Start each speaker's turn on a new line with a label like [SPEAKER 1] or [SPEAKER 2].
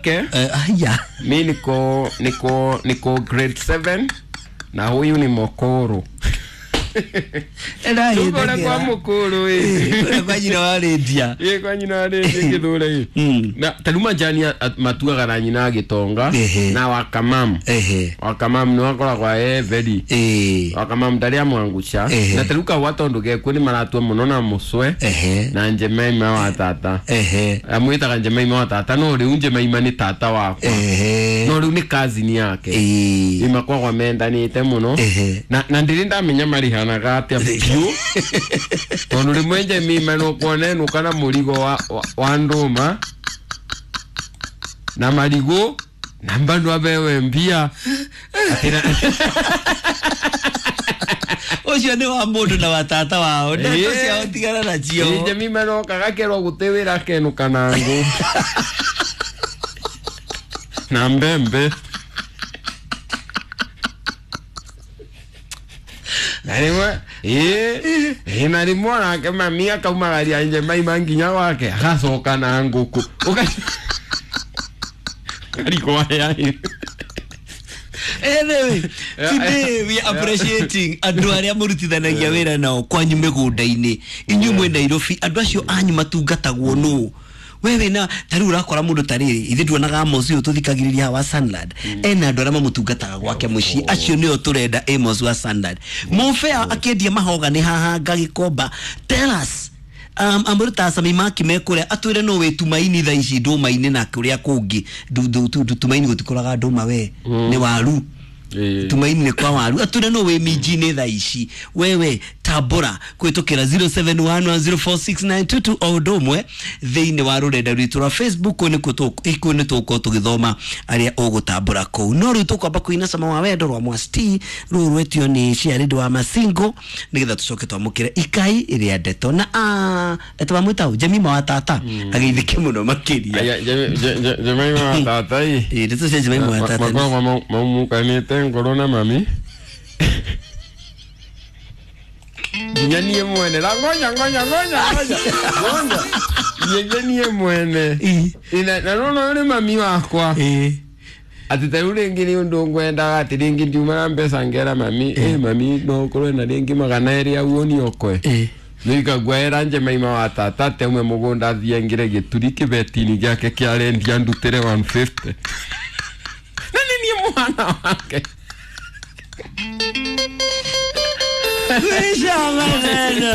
[SPEAKER 1] Okay.
[SPEAKER 2] Haya.
[SPEAKER 1] Mi niko grade 7 na huyu ni mokoro. Tukora kwa mukuru
[SPEAKER 2] ĩ kwa nyina wa rendia.
[SPEAKER 1] Ĩ kwa nyina wa rendia githure ĩ. Na tarĩu majani matuaga na nyina gĩtonga na wakamam. Wakamam nĩ wakoragwo e very. Wakamam ndarĩ amwangusha. Na tarĩu kahũa tondũ gekuo nĩ maratua mũno na mũcwe na Njemaima wa tata. Amwĩtaga Njemaima wa tata no rĩu Njemaima nĩ tata wakwa. No rĩu nĩ cousin yake. Ĩ makoragwo mendanĩte mũno. Na ndĩrĩ ndamenya marĩhanaga atĩa biũ tondũ rĩmwe Njemima nĩũkuona enũka na mũrigo wa ndũma na marigũ na bado abewe mbia.
[SPEAKER 2] Ũcio nĩ wa mũndũ na wa tata wao ndeto ciao tigana nacio.
[SPEAKER 1] Njemima noka gakerwo gũtĩ wĩra akenũka na ngũ na mbembe. Na rĩmwe ĩĩ na rĩmwe onake mami akaumagaria Njemaima nginya gwake agacoka na ngũkũ ũkarigwo aya.
[SPEAKER 2] Anyway, today we are appreciating andũ arĩa mũrutithanagia wĩra nao kwanyu mĩgũnda-inĩ. Inyuĩ mwĩ Nairobi, andũ acio anyu matungatagwo nũ? Wewe na ta rĩu ũrakora mũndũ ta rĩrĩ ithuĩ tuonaga Amos ũyũ tũthikagĩrĩria haha wa Sunland ena andũ arĩa mamũtungataga gwake mũciĩ acio nĩo tũrenda. Amos wa Sunland mũbea akĩendia mahoga nĩ haha Gagĩkomba. Tell us amũrĩ ta Sami Maki mekũrĩa atwĩre no wĩ Tumaini thaa ici ndũma-inĩ na kũrĩa kũngĩ. Tumaini gũtikũraga ndũma we nĩ waru. Tumaini nĩ kwa waru. Atwĩre no wĩ minji-inĩ thaa ici wewe tambũra kũhĩtũkĩra 0711046922 o ũndũ ũmwe thĩinĩ wa rũrenda rwitũ rwa Facebook. Kũu nĩ tũgũkorwo tũgĩthoma arĩa ũgũtambũra kũu. No rĩu tũkwamba kũina cama wa wendo rwa Mwasti rũu rwetio nĩ Ciarĩndĩ wa Masingo nĩgetha tũcoke twamũkĩre ikai rĩa ndeto na etwamwĩta Jemima wa tata ageithĩke mũno makĩria.
[SPEAKER 1] Jemima wa tata ĩ
[SPEAKER 2] ndeto cia Jemima wa tata
[SPEAKER 1] makoragwo maumukanĩte ngoro na mami nginya niĩ mwene na ngoja ngoja ngoja ngoja ngoja nginya niĩ mwene na nona ũyũ nĩ mami wakwa atĩ ta rĩu rĩngĩ nĩ ũndũ ngwendaga atĩ rĩngĩ ndiuma na mbeca ngera mami mami no ũkorwe na rĩngĩ 200 au ũniokwe nĩikaguaĩra Njemaima wa tata atĩ aume mũgũnda athiĩ aingĩre gĩturi kĩbeti-inĩ gĩake kĩa rendia ndutĩre 150 na nĩ niĩ mwana wake.
[SPEAKER 2] Kwisha maneno.